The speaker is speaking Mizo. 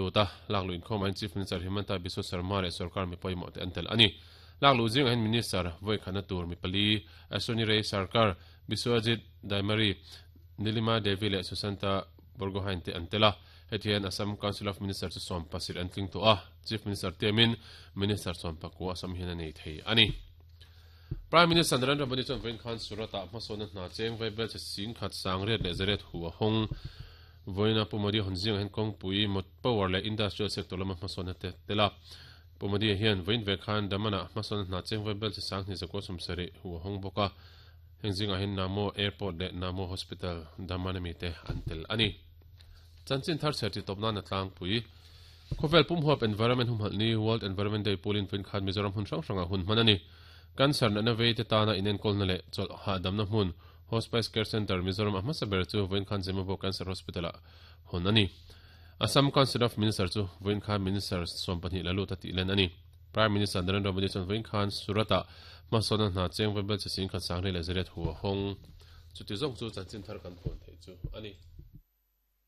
lut a, lakluh inkhawmah hian Chief Minister Himanta Biswa Sarma leh sorkar mi pawimawh te an tel a ni. Lakluh zingah hian Minister vawikhatna tur mi pali, Ashwini Ray Sarkar, Biswajit Daimary, Nilima Devi leh Susanta Borgohain te an tel a. Heti hian Assam Council of Minister chu 17 an tling tawh a, Chief Minister tiamin Minister 19 Assam hian a nei thei a ni. Prime Minister Narendra Modi chuan vawiin khan Surat-ah hmasawnna hna cheng vaibel che sing khat sang riat leh zariat hu a hawng. Vawiina Pu Modi hawn zingah hian kawngpui, mot power leh industrial sector lama hmasawnna te tel a. Pu Modi hian vawiin ve khan Daman-ah hmasawnna hna cheng vaibel che sang hnih zakua 70 hu a hawng bawk a. Heng zingah hian Namo Airport leh Namo Hospital, Daman ami te an tel a ni. Chanchin thar chher ti tawp nan a tlangpui. Khawvel pum huap Environment humhalh ni, World Environment Day, pulin vawiin khan Mizoram hmun hrang hrangah hun hman a ni. Cancer natna vei te tana inenkawlna leh chawlh hahdamna hmun, Hospice Care Centre, Mizoram a hmasa ber chu vawiin khan Zemabawk Cancer Hospital-ah hawn a ni. Assam Council of Minister chu vawiin khan Minister 12 la lut a tih len a ni. Prime Minister Narendra Modi chuan vawiin khan Surat-ah hmasawnna hna cheng vaibel chi 10,140 hu a hawng. Chuti zawng chu chanchin thar kan puan theih chu a ni.